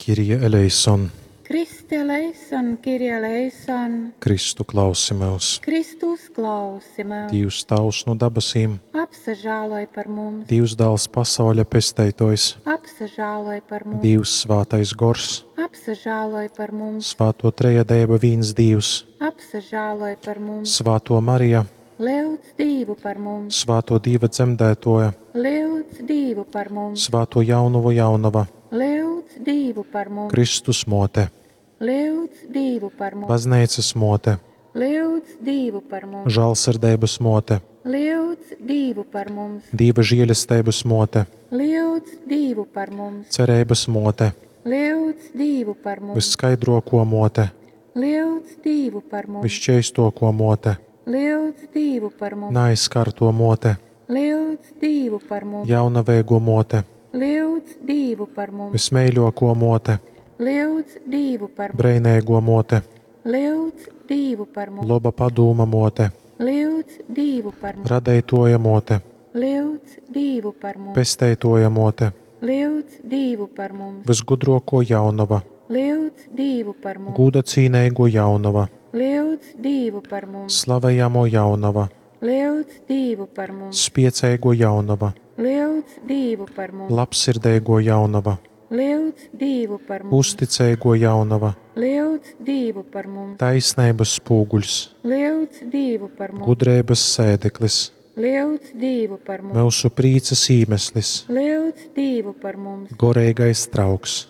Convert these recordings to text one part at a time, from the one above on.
Kyrie eleison. Kriste eleison, Kyrie eleison. Kristu klausi myus. Kristu uzklausi myus. Dīvs Tāvs nu dabasīm. Apsažāloj par mums. Dīvs Dāls pasauļa pesteitōjs. Apsažāloj par mums. Dīvs Svātais Gors. Apsažāloj par mums. Svāto Trejadeiba vīns Dīvs. Apsažāloj par mums. Svātō Marija. Lyudz Dīvu par mums. Svātō Dīva dzemdētōja. Lyudz Dīvu par mums. Svātō Jaunovu Jaunova. Lyudz Dīvu par mums. Kristus Mōte. Lyudz Dīvu par mums. Bazneicas Mōte. Lyudz Dīvu par mums. Žālsirdeibas Mōte. Lyudz Dīvu par mums. Dīva žēlesteibas Mōte. Lyudz Dīvu par mums. Cereibas Mōte. Lyudz Dīvu par mums. Vysskaidrōkō Mōte. Lyudz Dīvu par mums. Vysšķeistōkō Mōte. Lyudz Dīvu par mums. Naaizskartō Mōte. Lyudz Dīvu par mums. Jaunaveigō Mōte. Lyudz Dīvu par mums. Vysmeiļōkō Mōte. Lyudz Dīvu par mums. Breineigō Mōte. Lyudz Dīvu par mums. Loba padūma Mōte. Lyudz Dīvu par mums. Radeitōja Mōte. Lyudz Dīvu par mums. Pesteitōja Mōte. Lyudz Dīvu par mums. Vysgudrōkō Jaunova. Lyudz Dīvu par mums. Gūda cīneigō Jaunova. Lyudz Dīvu par mums. Slavejamō Jaunova. Lyudz Dīvu par mums. Spieceigō Jaunova. Lyudz Dīvu par mums. Labsirdeigō Jaunova. Lyudz Dīvu par mums. Uzticeigō Jaunova. Lyudz Dīvu par mums. Taisneibas spūguļs. Lyudz Dīvu par mums. Gudreibas sēdeklis. Lyudz Dīvu par mums. Myusu prīcas īmeslis. Lyudz Dīvu par mums. Goreigais trauks.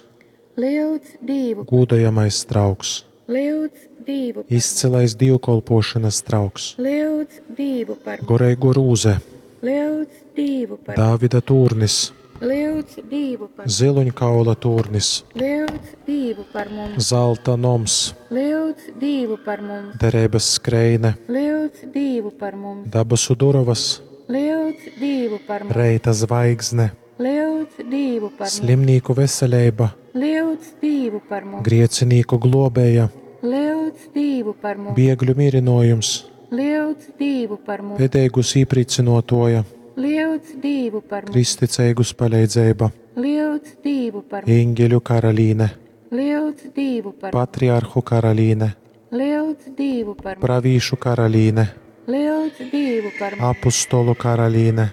Lyudz Dīvu. Gūdojamais trauks. Lyudz Dīvu par mums. Izcylais dīvkolpōšanas trauks. Lyudz Dīvu par mums. Goreigō rūze. Lyudz Dīvu par mums. Dāvida tūrnis. Lyudz Dīvu par mums. Ziluņkaula tūrnis. Lyudz Dīvu par mums. Zalta noms. Lyudz Dīvu par mums. Dereibas skreine. Lyudz Dīvu par mums. Dabasu durovas. Lyudz Dīvu par mums. Reita zvaigzne. Lyudz Dīvu par mums. Slimnīku veseleiba. Lyudz Dīvu par mums. Griecinīku glōbēja. Lyudz Dīvu par mums. Biegļu mierinōjums. Lyudz Dīvu par mums. Bēdeigus īprīcynōtōja. Lyudz Dīvu par mums. Kristticeigus paleidzeiba. Lyudz Dīvu par mums. Eņģeļu karalīne. Lyudz Dīvu par mums. Patriarhu karalīne. Lyudz Dīvu par mums. Pravīšu karalīne. Lyudz Dīvu par mums. Apustolu karalīne.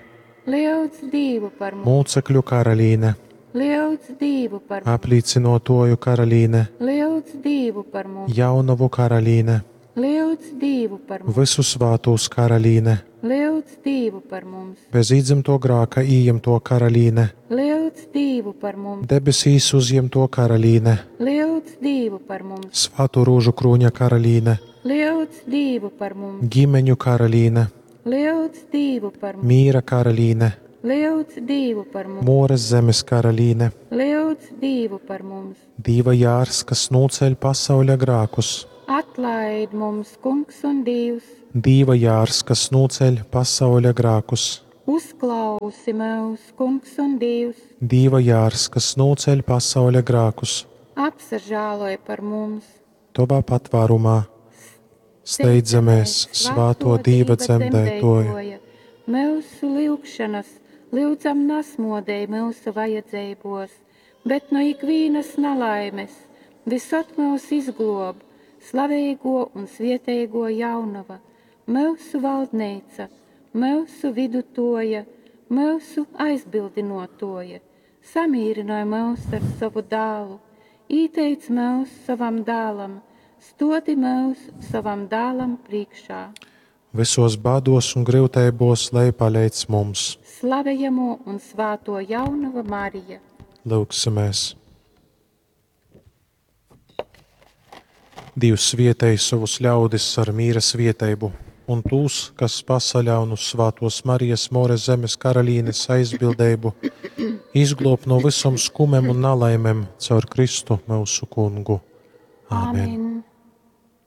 Lyudz Dīvu par mums. Mūcekļu karalīne. Lyudz Dīvu par mums. Aplīcynōtōju karalīne. Lyudz Dīvu par mums. Jaunavu karalīne. Lyudz Dīvu par mums. Vysu svātūs karalīne. Lyudz Dīvu par mums. Bez īdzimto grāka ījimto karalīne. Lyudz Dīvu par mums. Debesīs uzjemto karalīne. Lyudz Dīvu par mums. Svāto rožu krūņa karalīne. Lyudz Dīvu par mums. Ģimeņu karalīne. Lyudz Dīvu par mums. Mīra karalīne. Lyudz Dīvu par mums. Mūras zemes karalīne. Lyudz Dīvu par mums. Dīva jārs, kas nūceļ pasauļa grākus. Atlaid mums, Kungs un Dievs. Dīva jārs, kas nūceļ pasauļa grākus. Uzklausi mūs, Kungs un Dievs. Dīva jārs, kas nūceļ pasauļa grākus. Apsažāloj par mums. Tovā patvārumā steidzamies, svāto Dīva dzemdētoja. Mūsu lyugšanas lyudzam nasmodēj mūsu vajadzībos, bet no ikvīnas nalaimes visot mūs izglob slavēgo un svietēgo jaunava, mūsu valdneica, mūsu vidutoja, mūsu aizbildinotoja. Samīrinoj mūs ar savu dālu, īteic mūs savam dālam, stodi mūs savam dālam priekšā. Visos bādos un gryuteibos, lai paleidz mums. Slavējamo un svāto jaunava Marija. Lūgsimies! Dievs svietēj savus ļaudis ar mīra svieteibu, un tūs, kas pasaļaun uz svātos Marijas More zemes karalīnes aizbildeibu, izglob no visom skumem un nalaimem caur Kristu mūsu kungu. Āmen. Amen.